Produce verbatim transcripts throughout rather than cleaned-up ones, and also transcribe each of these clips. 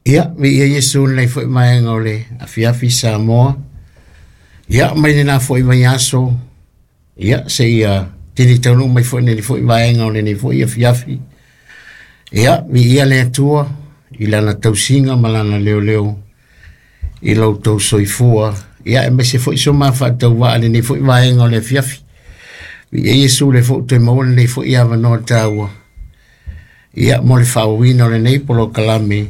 Ia, viia Iesu lenei foi vaega o le afiafi Samoa. Ia, mai lena foi vaiaso. Ia, seia tini taunuu mai foi lenei foi vaega o lenei foi afiafi. Ia, viia le Atua i lana tausiga ma lana leoleo i lo outou soifua. Ia, aemaise foi so ma faatauvaa lenei foi vaega o le afiafi. Viia Iesu le foi toe maua lenei foi avanoa taua. Ia, mo le faaauauina o lenei polokalame.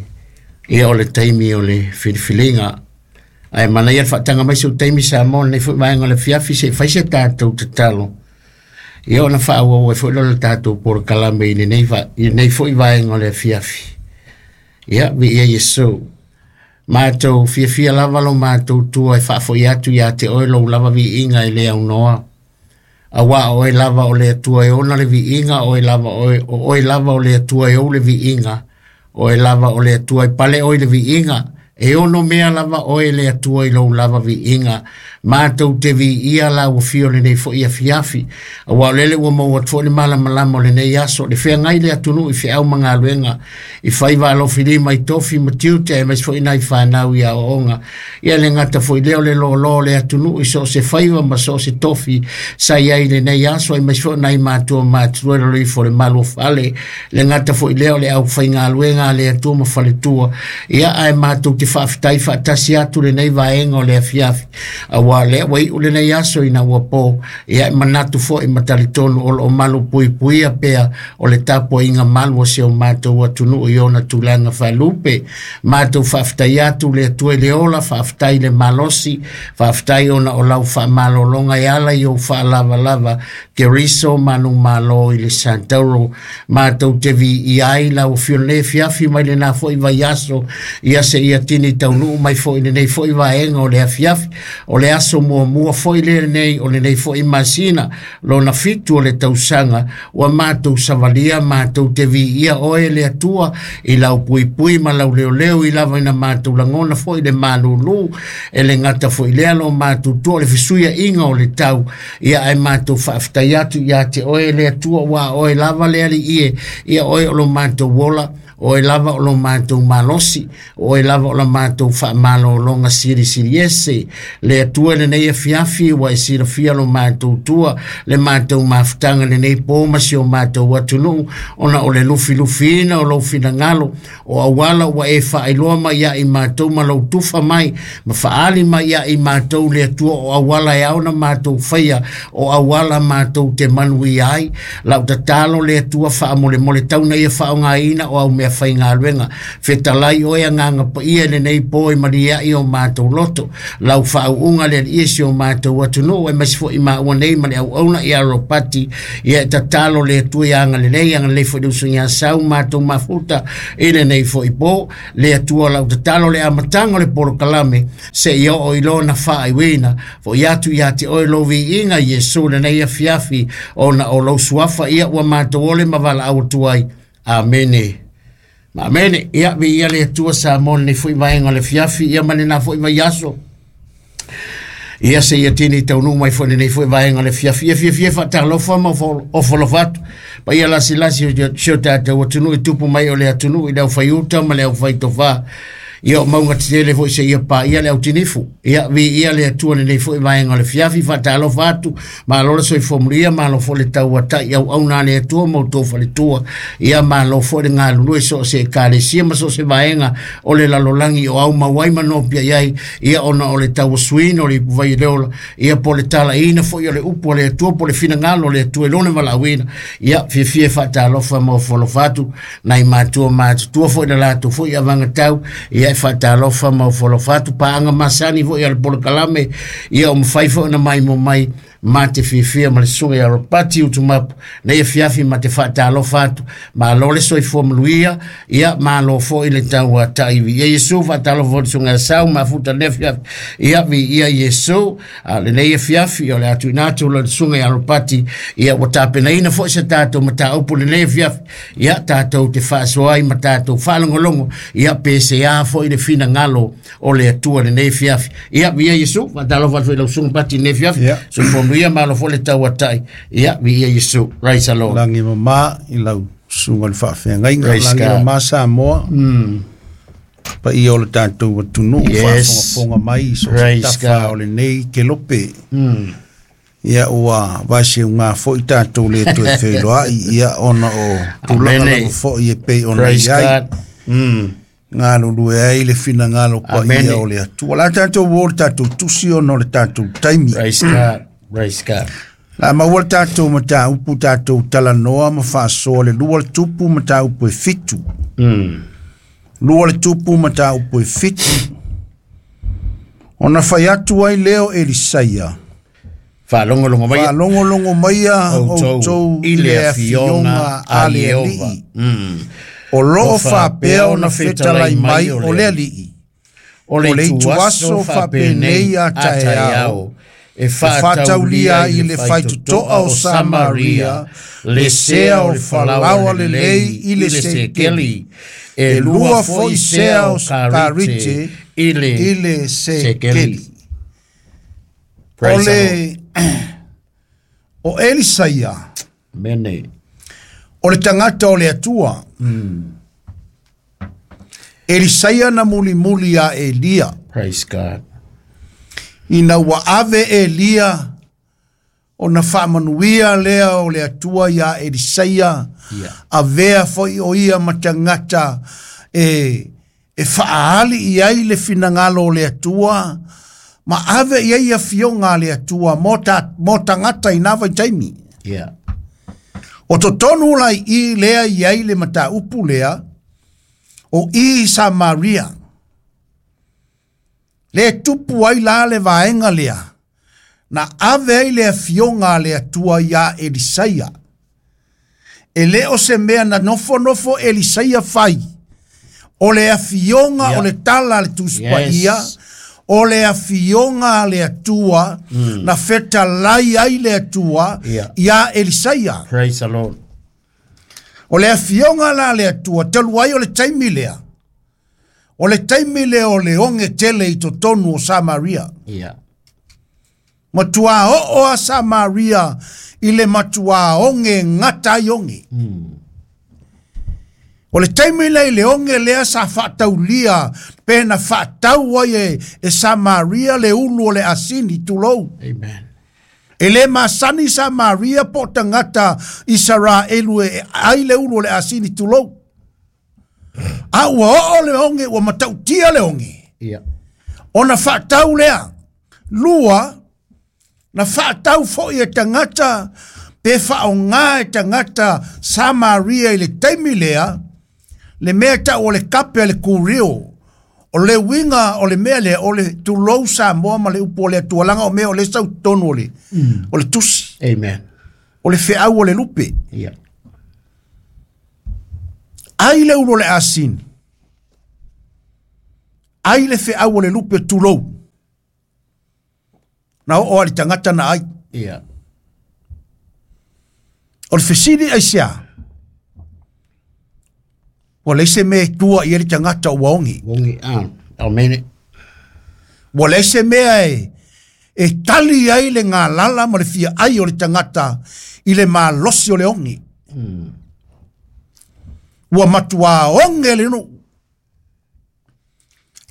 Ia, o le taimi o le filifiliga. Ae manaia le faataga mai sou taimi Samoa lenei foi vaega o le afiafi se i fai se tatou tatalo. Ia ona faaauau ai foi lea o le tatou polokalame i lenei, va- i lenei foi vaega o le afiafi. Ia, viia Iesu. Matou fiafia lava lo matou tua e faafoi atu ia te oe lou lava viiga e le aunoa. Auā o oe lava o le Atua e ona le viiga, o oe lava oe, o oe lava o le Atua e ou le viiga, o oe lava o le Atua e pale oe i le viiga, e ono mea lava oe le Atua i lou lava viiga. Matou te viia lau afio lenei foi afiafi. Auā o lele ua maua atu foi le malamalama o lenei aso, le feagai le atunuu i feau ma galuega, i faiva alofilima i tofi ma tiute, aemaise foi nai fanau i aoaoga. Ia le gata foi lea o le loaloa o le atunuu i so o se faiva ma so o se tofi sa i ai i lenei aso, aemaise foi nai matua matutua i lalo ifo o le malu o fale. Le gata foi lea o le aufaigaluega a le Atua ma faletua. Ia ae matou te faafetai faatasi atu lenei vaega o le afiafi. Auā lea ua iu lenei aso ina ua po. Ia e manatu foi ma talitonu o lo o malu puipuia pea o le tapuaiga malu o si o matou atunuu i ona tulaga faalupe. Matou faafetai atu le Atua i le ola, faafetai le malosi, faafetai ona o lau faamalologa e ala i ou faalavalava Keriso manumalo i le Santauro. Matou te viia ai lau afio lenei afiafi mai lena foi vaiaso, ia seia tini taunuu mai foi lenei foi vaega o le afiafi. O le aso muamua foi lenei o lenei foi masina, lona fitu o le tausaga, ua matou savalia matou te viia oe le Atua i lau puipui ma lau leoleo i lava ina matou lagona foi le malulu e le gata foi lea lo matou tua o le fesuiaiga o le tau. Ia ae matou faafetai atu ia te oe le Atua, ua oe lava le Alii e, ia oe o lo matou ola, oe lava o lo matou malosi, oe lava o la matou faamalologa silisili ese. Le Atua lenei afiafi ua e silafia lo matou tua, le matou mafutaga lenei po ma si o matou atunuu, ona o le lufilufiina o lou finagalo, o auala ua e faailoa mai ia i matou ma lou tufa mai, ma faali mai ia i matou le Atua o auala e ao ona matou faia, o auala matou te manuia ai. Lau tatalo le Atua faamolemole tauna ia faaaogaina o au mea faigaluega. Fetalai oe Agaga Paia i lenei po e maliai o matou loto. Lau faauuga le Alii e si o matou atunuu, aemaise foi maua nei ma le auauna ia Ropati. Ia e tatalo le Atua ia agalelei, agalelei foi le uso ia Sau matou mafuta i lenei foi po. Le Atua lau tatalo le amataga o le polokalame seia oo i lona faaiuina. Foi atu ia te oe lou viiga Iesu lenei afiafi, ona o lou suafa ia ua matou ole ma valaau atu ai. Amene. Ma amene. Ia viia le Atua Samoa lenei foi vaega o le afiafi, ia ma lena foi vaiaso. Ia seia tini taunuu mai foi lenei foi vaega o le afiafi. Ia fiafia faatalofa ma ofo alofa atu. Paia lasilasi o si o tatou atunuu i tupu mai o le atunuu i le aufaiuta ma le aufaitofa. Ia o mauga tetele foi seia paia le autinifu. Ia viia le Atua lenei foi vaega o le afiafi. Faatalofa atu, malo le soifua manuia, malo foi le tauatai auauna a le Atua ma outou faletua. Ia malo foi le galulue so o se ekalesia ma so o se vaega o le lalolagi o au mau ai ma nopia i ai. Ia ona o le tauasuina o le ipuvai o le ola. Ia po le talaiina foi o le upu a le Atua po le finagalo o le Atua i lona valaauina. Ia fiafia faatalofa ma ofo alofa atu nai matua matutua foi le latou foi avagatau. Ia e faatalofa ma ofo alofa atu paaga masani foi a le polokalame. Ia o mafai foi ona maimoa mai ma te fiafia ma le susuga ia Ropati Utumapu nei afiafi ma te faatalofa atu. Malo le soifua manuia, ia malo foi le tauatai. Viia Iesu. Faatalofa foi le susuga ia Sau mafuta lenei afiafi. Ia viia Iesu. A lenei afiafi o le a tuuina atu le susuga ia Ropati, ia ua tapenaina foi se tatou mataupu lenei afiafi. Ia tatou te faasoa ai ma tatou faalogologo, ia pe sea foi le finagalo o le Atua lenei afiafi. Ia viia Iesu. Faatalofa atu foi i lau susuga Pati lenei afiafi. Ia. Soifua manuia, malo foi le tauatai. Ia viia Iesu. Praise the Lord. Lagi mama i lau susuga le faafeagaiga. Praise Lagi God. mama Samoa. Mm. Paia o le tatou atunuu Yes. faafogafoga mai so se Praise tafa God. o lenei kelope. Mm. Ia ua vaeseuga foi tatou le toe feiloai ia ona o tulaga Amene. lava foi e pei ona Praise i ai. God. Mm. Galulue ai le finagalo Amene. paia o le Atua. La tatou o le tatou tusi ona o le tatou taimi. Praise God. Praise God. La maua le tatou mataupu tatou talanoa ma faasoa le lua le tupu mataupu e fitu. Mm. Lua le tupu mataupu e fitu. Ona fai atu ai leo Elisaia. Faalogologo mai Faalogologo maia outou outou i le afioga a le Ieova. Alii. Mm. O loo faapea ona fetalai mai o le Alii. O le O le ituaso ituaso faapenei a taeao e faataulia i le faitotoa o Samaria, le sea o le falaoa lelei i le sekeli, e e lua lua foi foi sea sea o o karite karite i le i le sekeli. sekeli. O Praise the Lord. le o Elisaia, Mene. o le tagata o le Atua. Elisaia na mulimuli a Elia. Praise God. Ina ua ave Elia ona faamanuia lea o le Atua iā Elisaia Ia. avea foi o ia ma tagata e e faaali i ai le finagalo o le Atua ma ave i ai afioga a le Atua mo ta mo tagata i na vaitaimi. Yeah. O totonu la i lea i ai le mataupu lea o i Samaria. Le tupu ai la le vaenga lea. Na ave ai le afioga a le Atua iā Elisaia. E le o se mea na nofonofo Elisaia fai. O le afioga Yeah. o le tala a le Tusi Paia, Yes. o le afioga a le Atua, na fetalai ai le Atua Yeah. iā Elisaia. Praise the Lord. O le afioga la le Atua, talu ai o le taimi lea. O le taimi lea o le oge tele i totonu o Samaria. Yeah. Matua oo a Samaria i le matua oge gata ai oge. O le taimi lea i le oge lea sa faataulia pe na faatau ai e, e Samaria le ulu o le asini tulou. Amen. E le masani Samaria po o tagata Isaraelu e ai le ulu o le asini tulou. A ua oo le oge, ua matautia le oge. Yeah. Ona faatau lea. Lua, na faatau foi e tagata pe faaaogā e tagata Samaria i le taimi lea, le mea tau o le kape a le kurio. O le uiga o le mea lea, o le tulou Samoa ma le upu o le Atua, laga o mea o le sau totonu o le, o le tusi, Amen. o le feau o le lupe. Yeah. Ai le ulu o le asini. Ai le feau o le lupe tulou. Na oo a le tagata na ai. Yeah. O le fesili aisea. Ua leai se mea e tua i ai le tagata ua ogi. Wongi ah. Amen. Ua leai se mea e, e tali ai le galala ma le fia ai o le tagata i le malosi o le ogi. Ua matuā oge le nuu.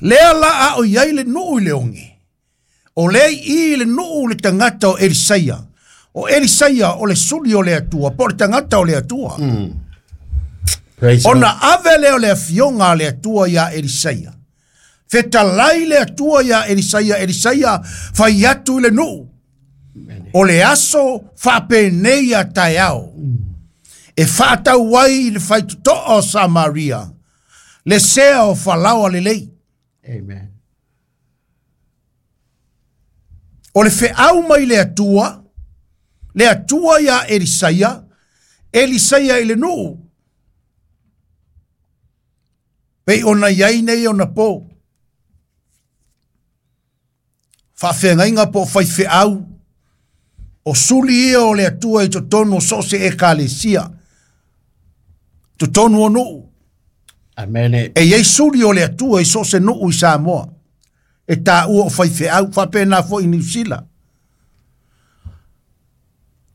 Lea la a o i ai le nuu i le oge. O lea i le nuu le tagata o Elisaia. O Elisaia o le suli o le Atua, po o le tagata o le Atua. Praise the Lord. Ona ave lea o le afioga a le Atua iā Elisaia. Fetalai le Atua iā Elisaia, Elisaia fai atu i le nuu. O le aso faapenei a taeao. E faatau ai i le faitotoa o Samaria, le sea o falaoa lelei. Amen. O le feau mai le Atua, le Atua iā Elisaia, Elisaia i le nuu. Pei ona i ai nei ona po. Faafeagaiga po o faifeau, o suli ia o le Atua i totonu o so o se ekalesia, totonu o nuu. Amen. E iai suli o le Atua i so o se nuu i Samoa. E tāua o faifeau, faapena foi i Niu Sila.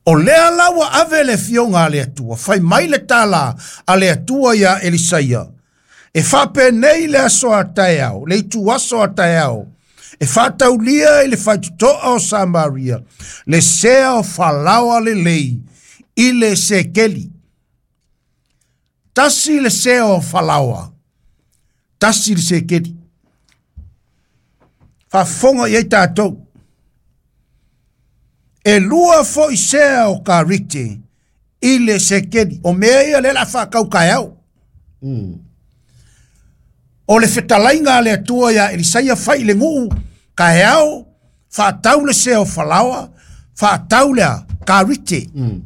O lea la ua ave le fioga a le Atua, fai mai le tala a le Atua iā Elisaia, E faapenei le aso a taeao, le itu aso a taeao, e faataulia i le faitotoa o Samaria, le sea o falaoa lelei i le sekeli. Tasi le sea o falaoa, tasi le sekeli. Faafofoga i ai tatou. E lua foi sea o karite i le sekeli. O mea ia lea o le a faatau taeao. Mm. O le fetalaiga a le Atua ia Elisaia fai i le nuu taeao, faatau le sea o falaoa, faatau le a karite. Mm.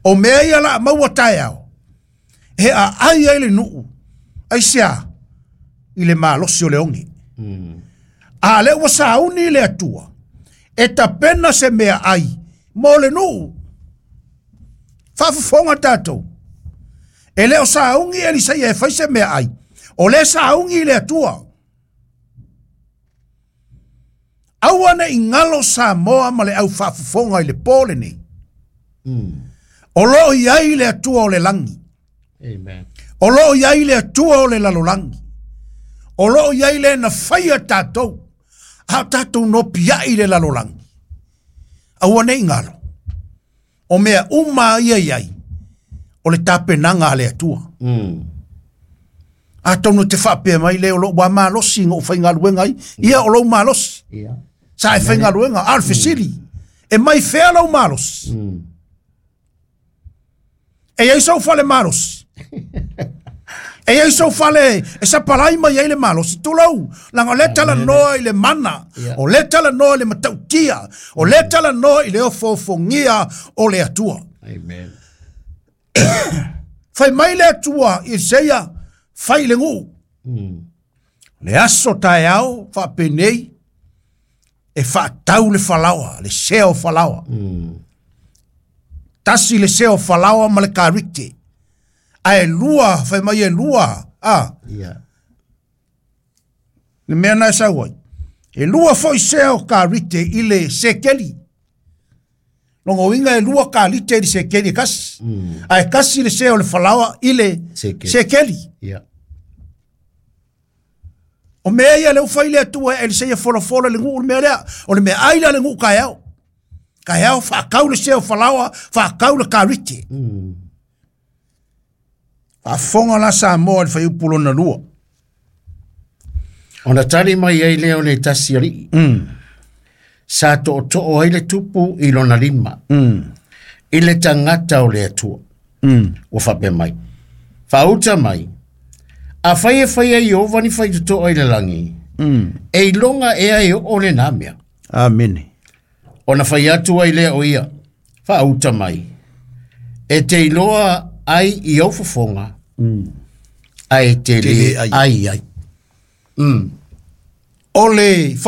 O mea ia la maua taeao, e aai ai le nuu, aisea i le malosi o le oge. Mm. A lea ua sauni le Atua, e tapena se mea ai mo le nuu. Faafofoga tatou. E le o sauni Elisaia e fai se mea ai, o le sauni le Atua. Aua ne i galo Samoa ma le au faafofoga i le po lenei. Mm. O loo i ai le Atua o le lagi. Amen. O loo i ai le Atua o le lalolagi. O loo i ai le na faia tatou. A o tatou nopiai i le lalolagi. Aua ne i galo. O mea uma ia i ai, o le tapenaga a le Atua. Mm. Atonu te faapea mai le o lou ua malosi na ou faigaluega ai, ia o lou malosi. Ia. Sa e faigaluega, a o le fesili, e mai fea lou malosi. Mm. E iai sou fale malosi. E iai sou fale e sapalai mai ai le malosi. Tulou, leaga o lea talanoa i le mana, Ia. o lea talanoa i le matautia, o lea talanoa i le ofoofogia o le Atua. Amen. Fai mai le Atua i Elisaia, fai le nuu. Mm. Le aso taeao faapenei, e faatau le falaoa, le sea o falaoa. Mm. Tasi le sea o falaoa ma le karite. A e lua, fai mai e lua, a, Ia. le mea na e sau ai. E lua foi sea o karite i le sekeli. Longa uiga e lua karite i le sekeli e kasi. Mm. A e kasi le sea o le falaoa i le Sekeli. sekeli. Ia. O mea ia le ufai le Atua e Elisaia folafola le nuu le mea lea. O le mea ai la le nuu kaeao. Kaeao faakau le sea o falaoa, faakau le karite. Mm. Faafofoga la Samoa i le fuaiupu lona lua. Ona tali mai ai lea o le tasi alii. Mm. Sa tootoo ai le tupu i lona lima. Mm. I le tagata o le Atua. Mm. Ua faapea mai. Faauta mai. A fai e fai ai Ieova ni faitotoa i le lagi. Mm. E iloga ea e oo lenā mea. Amene. Ona fai atu ai lea o ia. Faauta mai. E te iloa ai i au fofoga. Mm. Ae te Te le le ai. ai ai. Mm. O le